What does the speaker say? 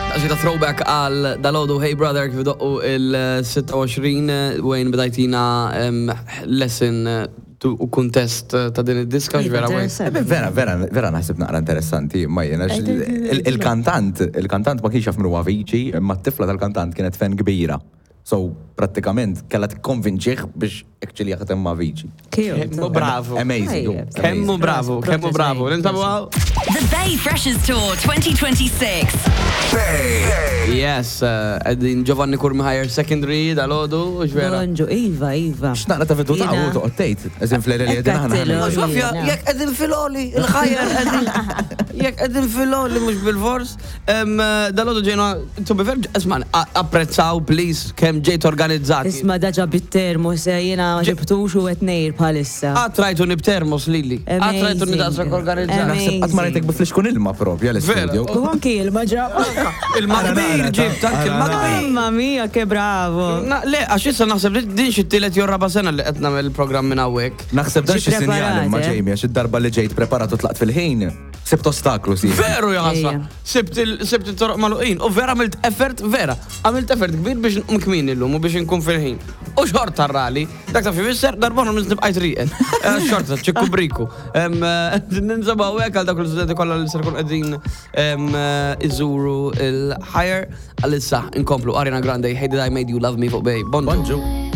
Għaxi ta' throwback għal dalodu Hey Brother kif doqqu il-26 Wayne bdajtina lesson u kuntest ta' din id-diska vera Wayne. Vera, vera, vera naħseb naqra interessanti ma jena il-kantant, il-kantant ma kienx jaf min huwa Avicii, imma t-tifla tal-kantant kienet fan kbira. So, prattikament kellha tikkonvinċih biex actually jaħdem ma' Avicii. Kemmu bravu. Amazing. Kemmu bravu, kemmu bravu. Nintabu għaw. The Bay Freshers Tour 2026. Bay. Yes, għedin Giovanni Curmi Higher Secondary dal-ħodu, vera. Bonġu, Iva, Iva. X'naqra ta' vedu ta' u toqgħod tgħid, eżin fl-eri li qegħdin aħna. Sofja, jekk qegħdin fil-oli, il-ħajja qegħdin. Jekk qegħdin fil-oli mhux bil-fors. Dal-għodu ġejna, to be fair, isma, apprezzaw, please, kemm ġejt organizzati. Isma daġa bit-termos, eh, jena ma ġibtux u qed ngħir bħalissa. Qatt rajtuni b'termos lili. Qatt rajtuni daqshekk organizzati. Naħseb qatt ma rajtek bi flixkun ilma propja l-istudio. U anki ilma ġab. Ilma kbir ġibt, anki ilma kbir. Mamma mia, che bravo. Le, għax issa naħseb li din xi tielet jew raba' sena li qed nagħmel il-programm minn hawnhekk. Naħseb dan xi sinjal imma eh? Jamie, għax id-darba li ġejt preparat u tlaqt fil-ħin. Sibt ostaklu, si. Veru jaħasra. Sibt il-toroq maluqin. U vera għamilt effort, vera. Għamilt effort kbir biex nqum kmin illum u biex nkun fil-ħin. U xorta rali. Dak ta' fisser, darbona minn nibqajt riqet. Eh, xorta, ċikku briku. Eh, Ninsabaw hekk għal dak l-studenti kollha li ser kun qegħdin eh, iżuru il-higher. Għalissa nkomplu Ariana Grande, Hey Did I Made You Love Me fuq Bay. Bonġu. Bonġu.